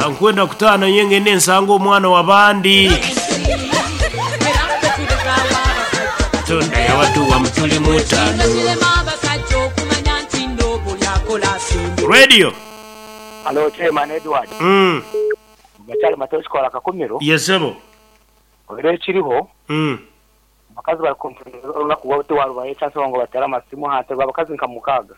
Kankwenda kutaaha naye ngende nsange omwana w'abandi. Katonda yabatuwa mu tuli mutaano. Radio. Halo Chairman Edward. Gakyali Matayo Kikola Kakumiro. Ye sebo. Oire ekiriho, abakazi bari kompureininga olunaku bwabo tiwarubaha echansi ngu batere amasimu aha ntebe abakazi nka mukaaga.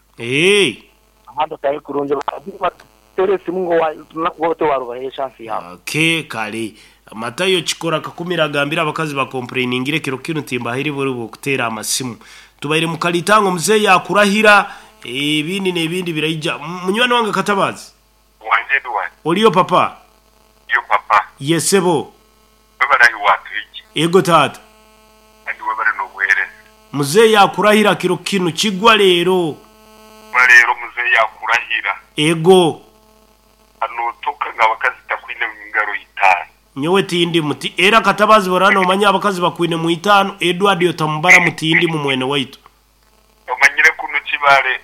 Ahandi otari kurungi abakazi nibateera esimu ngu olunaku bwabo tiwarubaha echansi yaabo. Okay kare. Matayo Kikora Kakumiro agambire abakazi bakompureiningire ekiro kinu timbahaire bwire bw'okuteera amasimu. Tubaire mu kalitango muzeeyi akurahira ebindi n'ebindi biraija. Munywani wange Katabaazi. Wangi Edward. Oriyo papa? Ndiyo papa. Ye sebo. Webale ahi watuhikya. Ego taata. Kandi webale n'obuhereza. Muzeeyi akurahira kiro kinu kigwa leero. Kigwa leero muzeeyi akurahira. Ego. Notoka ngu abakazi takwine ngaro itaano. Nyowe tindimu. Ti era Katabaazi boraba nomanya abakazi bakwine mu itaano, Edward otamubara mu tindimu mwene waitu. Omanyire kunu Kibale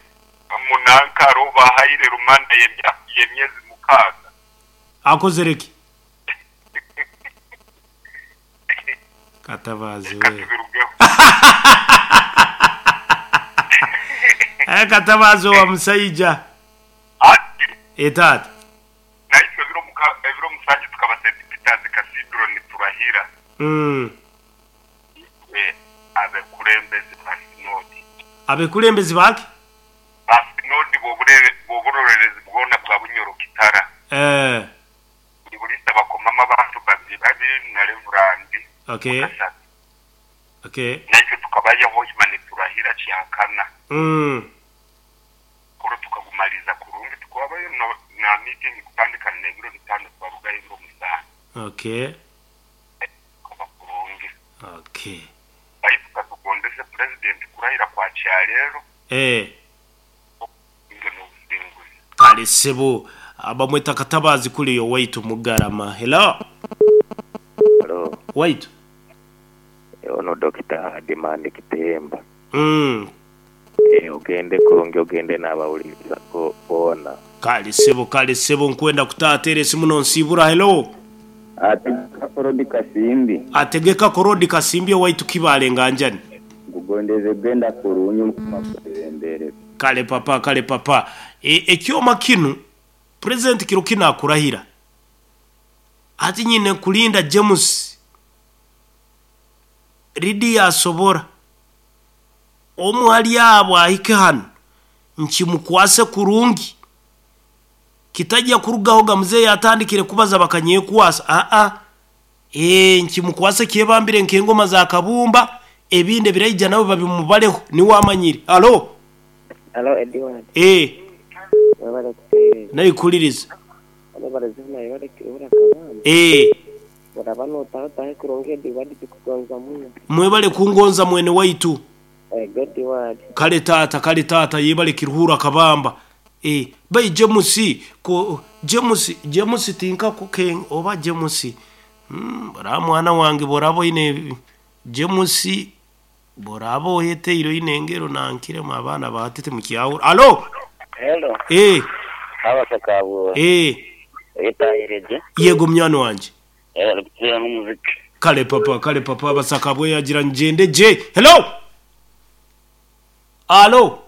Munankaro bahaire rumanda y'emyezi mukaaga. Akozire ki? Katabaazi Reka we. tubirugeho. Aye Katabaazi owa musaija. Ati. Ee taata. Naitwe ebiro muka ebiro musanju tukaba St. Peter's Cathedral niturahira. Itwe abekurembezi ba Sinodi. Abekurembezi ba ki? Ba Sinodi b'oburorerezi bwona bwa Bunyoro Kitara. Buri buriisa bakomamu abantu babiri babiri na Revurandi mukashatu. Naitwe tukabayo Hoima niturahira Kyakana. Omukoro tukagumariiza kurungi tukwabayo na miitingi kutandika n'ebiro bitaano twarugayo ebiro musaano. Tukaba kurungi. Baitu katugondeze Purezidenti kurahira kwa kyaleero obusinge n'obusinguzi. Kale ssebo bamweta Katabaazi kule owaitu Mugarama. Hello. Hello. Waitu. Ono Dokita Demand Kitemba. Ogende kurungi ogende n'abawuliriza bo boona. Kale ssebo kale ssebo nkwenda kutaaha teera esimu nonsiibura. Hello. Ategeka Korodi Kasimbi. Ategeka Korodi Kasimbi owaitu Kibaale Nganjani. Nkugondeze kugenda kurungi Mukama akwebembere. Kale papa kale papa. E, ekyoma kinu President kiro kinu akurahira ati nyine kulinda James Lydia asobora omu hali abo ahike hanu nkimukwase kurungi kitajya kurugaho ga muzeeyi atandikire kubaza bakanyekwasa aa ee nkimukwase kyebambire nk'engoma za kabumba ebindi ebiraija nabo babimubareho niwe amanyire. Halo. Halo Edward. Ee. Webale kuteereza. Naikuririza. Webale zona webale kirura kabamba. Ee. Oraba notaha otahe kurungi Edward tukugonza muno. Mwebale kungonza mwene waitu. Ego Edward. Kale taata kale taata yebale Kiruhura Kabamba. Ee bai James ko James James tinkakuke oba James mm oraba mwana wange bworaba oine James bworaba oyeteire oine engero nankiremu abaana ba hati timukyahura. Alo! Hello. Ee. Abasakabwe. Ee. Oyetahire gye? Yego munywani wangye. Webale kututeera n'omuziki. Kale papa kale papa Abasakabwe yagira ngyende gye. Hello! Alo!